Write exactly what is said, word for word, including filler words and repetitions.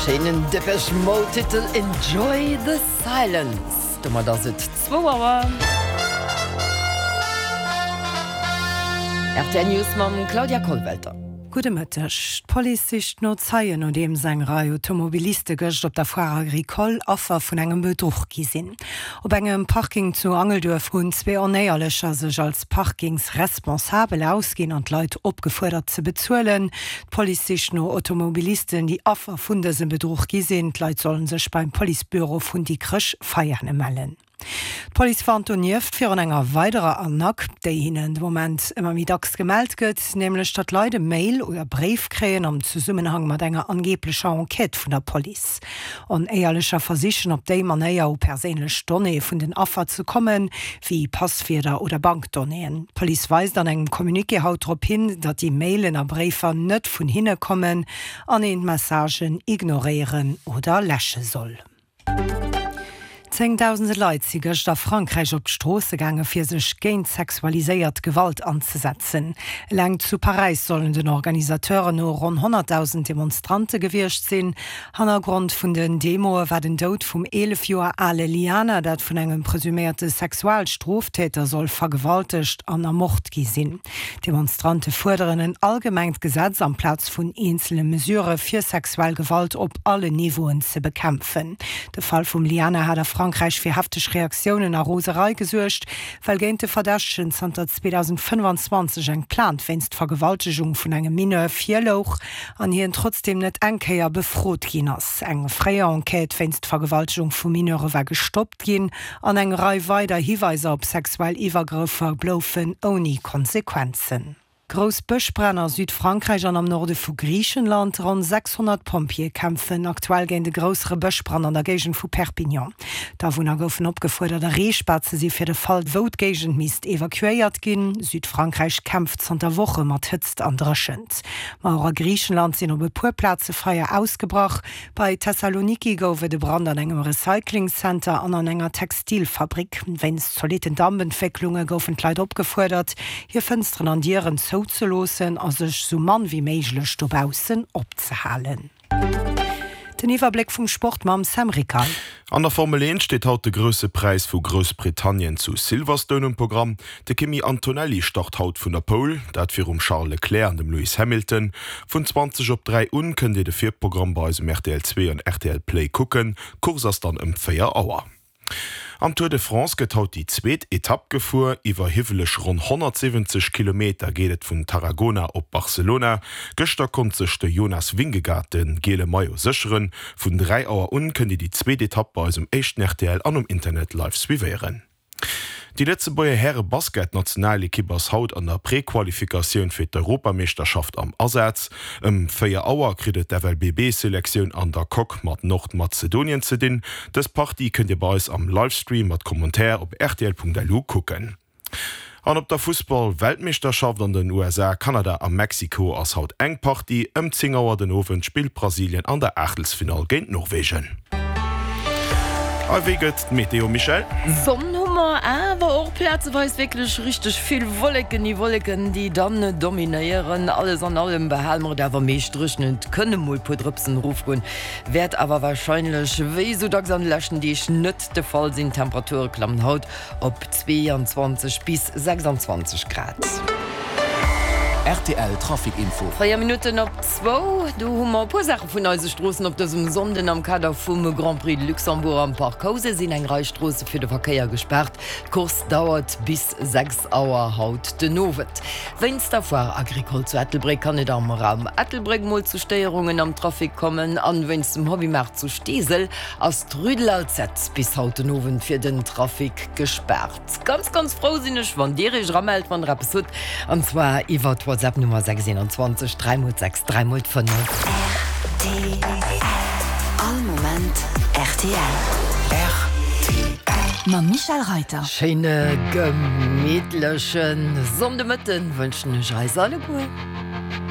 Schéinen Depeche Mode Titel Enjoy the Silence. Domat ass et zwou Auer. Rtl News mam Claudia Kollwelter. Gudde Mëtteg. D'Police sicht no Zeien, nodeems eng Rei Automobiliste gëscht op der Foire Agricole Affer vun engem Bedruch gi sinn. Op engem Parking zu Angelduerf hunn zwee Onéierlecher sech als Parkingsresponsabel ausginn an d'Leit opgefuerdert ze bezuelen. D'Police sicht no Automobilisten, déi Affer vun dësem Bedruch gi sinn. D'Leit sollen sech beim Policebüro vun Dikrech-Veiane mellen. D'Police warnt donieft virun enger weiderer Arnaque, déi hinnen de Moment ëmmer méi dacks gemellt gëtt, nämlech datt Leit e Mail oder Bréif kréien am Zesummenhang mat enger angeeblecher Enquête vun der Police. Onéierlecher versichen op déi Manéier u perséinlech Donnéeë vun den Affer ze kommen, wéi Passwierder oder Bankdonnéeën. D'Police weist an engem Communiqué haut drop hin, datt déi Mailen a Bréifer net vun hinne kommen an een d'Messagen ignoréieren oder läsche soll. Zéngdausende Leit si gëscht a Frankräich op d'Stroosse gaange fir sech géint sexualiséiert Gewalt anzesetzen. Eleng zu Paräis sollen den Organisateuren no ronn honnertdausend Demonstrante gewiescht sinn. Hannergrond vun den Demoe war den Doud vum eelef Joer ale Liana, dat vun engem presuméierte Sexualstroftäter soll vergewaltegt an ermort gi sinn. D'Demonstrante fuerderen en allgemengt Gesetz amplaz vun eenzele Mesurë fir sexuell Gewalt op allen Niveauen ze bekämpfen. De Fall vum Liana hat a Frankräich fir hefteg Reaktiounen a Roserei gesuergt, well géint de Verdächtegen zanter zweedausendfënnfanzwanzeg eng Plainte wéinst Vergewaltegung vun engem Mineur virlouch an hien trotzdeem net eng Kéier befrot ginn ass. Eng fréier Enquête wéinst Vergewaltegung vu Mineure war gestoppt ginn an eng Rei weider Hiweiser op sexuell Iwwergrëffer bloufen ouni Konsequenzen. Grouss Bëschbränn a Südfrankräich an am Norde vu Griichenland. Ronn sechshonnert Pompjeeë kämpfen aktuell géint e groussere Bëschbrand an der Géigend vu Perpignan. D'Awunner goufen opgefuerdert, erreechbar ze si fir de Fall, wou d'Géigend misst evakuéiert ginn. Südfrankräich kämpft zanter Woche mat Hëtzt an Dréchent. Ma och a Griichenland sinn op e puer Plaze Feier ausgebrach. Bei Thessaloniki gouf et e Brand an engem Recyclingcenter an an enger Textilfabrik. Wéinst zolitten Dampentwécklunge goufen d'Leit opgefuerdert, hir Fënsteren an Dieren zouzeloossen a sech sou mann wéi méiglech dobaussen opzehalen. Den Iwwerbléck vum Sport mam Sam Rickal. An der Formel eent steet haut de Grousse Präis vu Groussbritannien zu Silverstone um Programm. De Kimi Antonelli start haut vun der Pole, dat virum Charles Leclerc an dem Lewis Hamilton. Vun zwanzeg op dräi un kënnt Dir de Virprogramm bei eis um rtl zwee an rtl Play kucken. D'Course ass dann ëm véier Auer. Am Tour de France gëtt haut déi zweet Etapp gefuer. Iwwer hiwweleg ronn honnertsiwwenzeg Kilometer geet et vun Tarragona op Barcelona. Gëschter konnt sech de Jonas Vingegaard de giele Maillot sécheren. Vun dräi Auer un kënnt Dir déi zweet Etapp bei eis um éischten rtl an um Internet live suivéieren. Déi Lëtzebuerger Häre-Basketnationalekipp ass haut an der Prequalifikatioun fir d'Europameeschterschaft am Asaz. Ëm véier Auer kritt et d'F L B B-Selektioun an der Coque mat Nordmazedonien ze dinn. Dës Partie kënnt Dir bei eis am Livestream mat Commentaire op rtl Punkt L U kucken. An op der Fussball-Weltmeeschterschaft an den U S A, Kanada a Mexiko ass haut eng Partie. Ëm zéng Auer den Owend spillt Brasilien an der Aachtelsfinall géint Norwegen. A wéi gëtt d'Meteo, Michèle? Sonn hu mer, awer och plazeweis wierklech richteg vill Wolleken, déi Wolleken, déi dann dominéieren. Alles an allem behale mer et awer meescht dréchen, et kënne mol puer Drëpsen erofgoen, wäert awer warscheinlech wéi esou dacks an de leschten Deeg net de Fall sinn. D'Temperature klammen haut op zweeanzwanzeg bis sechsanzwanzeg Grad. Rtl Trafic Info. Véier Minutten op zwou, do hu mer e puer Saache vun eise Stroossen op dësem Sonnden. Am Kader vum Grand Prix de Luxembourg am Parc Housen sinn eng Rei Stroosse fir de Verkéier gespaart. D'Course dauert bis sechs Auer haut den Owend. Wéinst der Foire Agricole zu Ettelbréck kann et am Raum Ettelbréck mol zu Stéierungen am Trafic kommen. An wéinst dem Hobbymaart zu Steesel ass d'Rue de l'Alzette bis haut den Owend fir den Trafic gespaart. Ganz ganz frou sinn ech wann dir iech eramellt wann der eppes hutt, an zwar iwwer d'WhatsApp Nummer sechs eenanzwanzeg dräi mol sechs dräi mol fënnef. Rtl, All Moment rtl. Rtl. Mam Michèle Reiter. Schéine gemittleche Sonndemëtten wënschen ech eis alleguer.